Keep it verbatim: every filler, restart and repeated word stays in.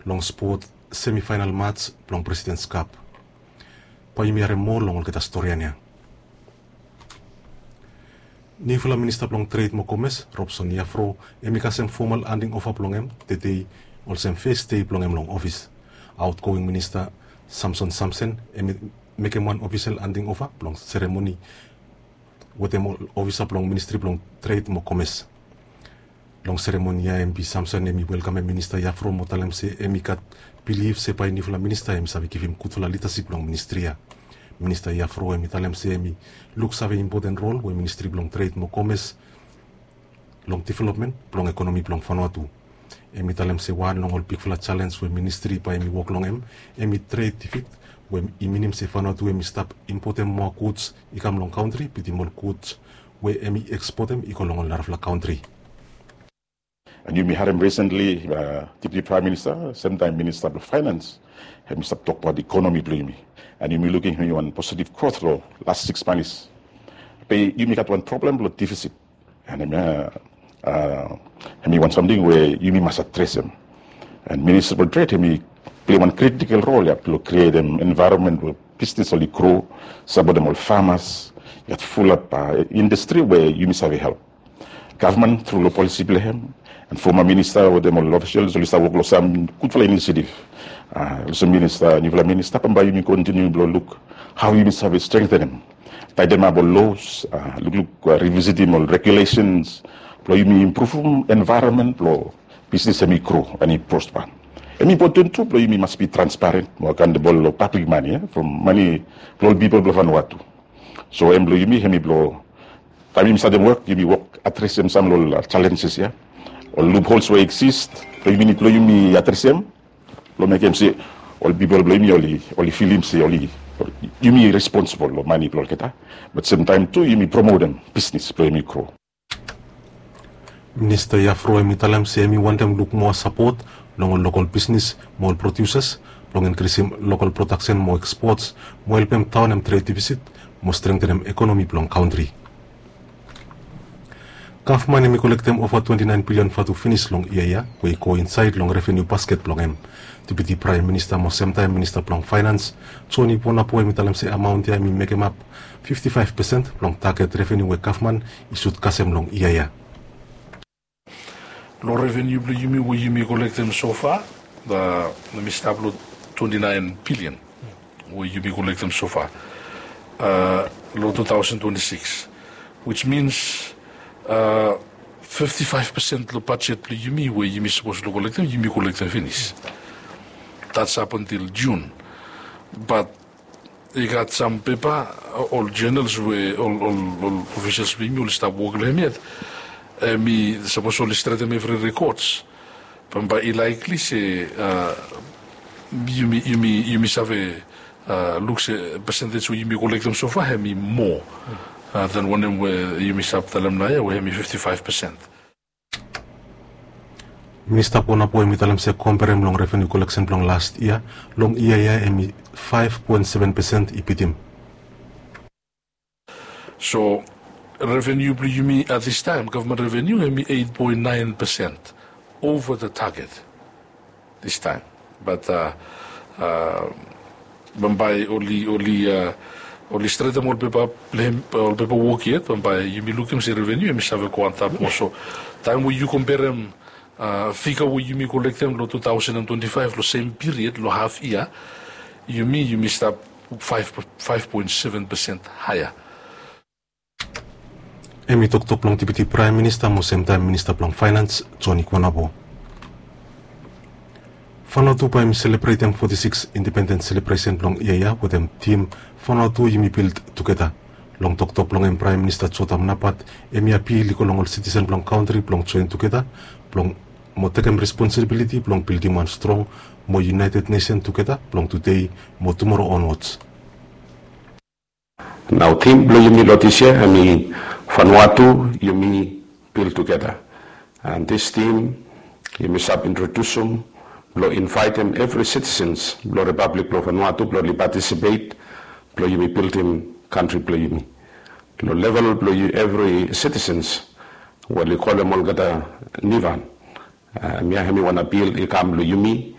long spot semifainal mats blong President's Cup. Bae yumi harem moa long olgeta storian ya. Niufala Minista blong Tred mo Komes, Robson Iafro, hemi kasem fomal handing ova blong hem tede, olsem fes dei blong hem long ofis. Aotgoing Minista Samson Samsen hemi mekem wan ofisel handing ova blong seremoni wetem ol ofisa blong Ministri blong Tred mo Komes. Long seremoni ya, hemi Samson hemi welkamem Minista Iafro mo talem se hemi gat bilif se bae niufala minista hemi save givim gudfala lidasip long ministri ya. Minista Iafro hemi talem se hemi luksave impoten rol we Ministri blong Tred mo Komes long developmen blong ekonomi blong Vanuatu. Hemi talem se wan long ol bigfala jalenj we ministri bae hemi wok long hem, hemi tred defit, we i minim se Vanuatu hemi stap impotem moa guds i kam long kantri, bitim ol guds we hemi ekspotem i go long ol narafala kantri. And yumi harem recently, uh, Deputy Prime Minister, semtaem Minista blong Finance, hemi stap tokbaot ekonomi blong yumi. And yumi lukim hemi wan positive growth long las sikis manis. Be yumi gat wan problem blong defisit. And hemi, uh, uh, hemi wan samting we yumi mas adresem. And Minister blong Tred hemi pilem wan critical role ya blong krietem environment we bisnis oli gro, sapotem ol famas, i gat fulap, uh, indastri we yumi save help. Gavman tru long polisi blong hem, and foma minista wetem ol ofisals oli stap wok long sam gudfala inisiativ. Uh, olsem minista, niufala minista, bambae yumi kontiniu blong luk hao yumi save strengtenem, taetemap ol los, uh, lukluk, uh, rivisitim ol regulesens blong yumi impruvum envaeronmen blong bisnis hemi gro and i prospa. Hemi impoten tu blong yumi mas bi transparent mo akaontebol long pablik mane, from mane blong ol pipol blong Vanuatu. So hem blong yumi hemi blong taem yumi statem wok, yumi wok adresem sam long ol, uh, jalenjes ya, ol luphols we i eksis, blong yumi nid blong yumi adresem blong mekem se ol pipol blong yumi oli, oli filim se oli, yumi responsibol long mane blong olgeta. Be semtaem tu yumi promotem bisnis blong yumi gro. Minista Iafro hemi talem se hemi wantem luk moa sapot long ol lokol bisnis mo ol prodiusas blong inkrisim lokol prodaksen mo ekspots mo helpem daonem tred defisit mo strengtenem ekonomi blong kantri. Gavman hemi kolektem ova twenti naen bilian vatu finis long yia ya, we i go insaed long reveniu basket blong hem. Deputi Praem Minista mo semtaem Minista blong Faenans, Joni Bonabo, hemi talem se amaon ya hemi mekemap fifti faef pesen blong taget reveniu we gavman i sud kasem long yia ya. Long reveniu blong yumi we yumi kolektem sofa, hemi stap long twenti naen bilian we yumi kolektem sofa, uh, long tu taosen twenti sikis, which means, uh, fifti faef pesen long bajet blong yumi we yumi sapos long kolektem, yumi kolektem finis. That's up until June. But i gat sam pepa, ol journals we ol, ol, ol ofisals blong yumi oli stap wok long hem yet, hemi sapos oli stretem evri rekods, bambae i likely se, uh, yumi, yumi, yumi save, uh, luk se pesentej we yumi kolektem sofa hemi moa, uh, than wanem we yumi stap talem naoia we hemi fifti faef pesen. Minista Bonabo hemi talem se komberem long reveniu koleksen blong las yia, long yia ya hemi faef poen seven pesen i bitim. So reveniu blong yumi at this time, gavman reveniu hemi eit poen naen pesen over the target this time. But, uh, uh, bambae oli, oli, uh, oli stretem ol pepa, ol pepa wok yet, bambae yumi lukim se reveniu hemi save go antap moa. So taem we yu komberem, uh, figa we yumi kolektem long tu taosen twenti faef long sem piriod long haf yia, yumi, yumi stap faef, faef poen seven pesen haea. Hemi toktok blong Deputi Praem Minista mo semtaem Minista blong Faenans, Joni Bonabo. Vanuatu bae hemi selebretem foti sikis indipendens selebresen blong yia ya wetem tim Vanuatu yumi bild tugeta. Long toktok blong hem, Praem Minista Jotham Napat hemi apiel i go long ol sitisen blong kantri blong joen tugeta blong mo tekem responsibiliti blong bildim wan strong mo iunaeted nesen tugeta blong tudei mo tumoro onwods. Nao tim blong yumi long dis yia hemi Vanuatu yumi bild tugeta. And dis tim yumi save introdusum blong invaetem evri sitisens blong Ripablik blong Vanuatu blong oli patisipet blong yumi bildim kantri blong yumi. Long level blong evri sitisens we oli kolem olgeta nivan. Uh, hemia hemi wan apiel i kam long yumi